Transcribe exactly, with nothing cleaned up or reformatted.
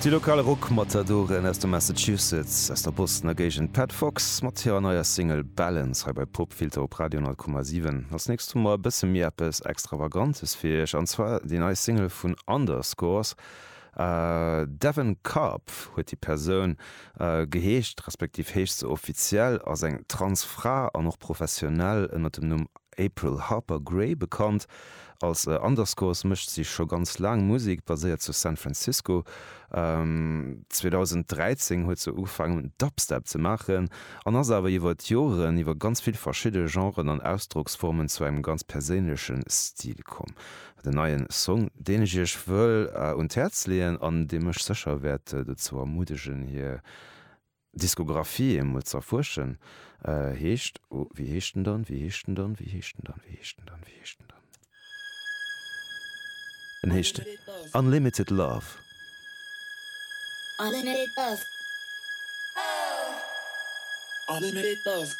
Déi lokal Rock-Matadoren aus dem Massachusetts, aus der Bostoner Géigend, Pat Fox mat hirer neier Single Balance hei bei Popfilter op Radio honnert Komma siwen. Als nächst hu mer e bësse méi eppes Extravagantes fir iech, an zwar déi nei Single vun Underscores. Devin Karpf huet déi Persoun geheescht, respektiv heescht se offiziell, ass eng trans Fra an och professionell ënner dem Numm April Harper Grey bekannt. Als Underscores mécht si scho ganz laang Musek, baséiert zu San Francisco. zweedausenddräizéng huet se ugefaangen Dubstep ze maachen an ass awer iwwer d'Joren iwwer ganz vill verschidde Genren an Ausdrocksformen zu engem ganz perséinleche Stil komm. Den neien Song, deen ech iech wëll un d'Häerz leeën an dee mech sécher wäert dozou ermuddegen hir Diskografie emol z'erfuerschen, heescht, oh wéi heescht en dann, wéi heescht en dann, wéi heescht en dann, wéi heescht en dann, wéi heescht en dann? En heescht Unlimited Love. Unlimited Love. Unlimited Love.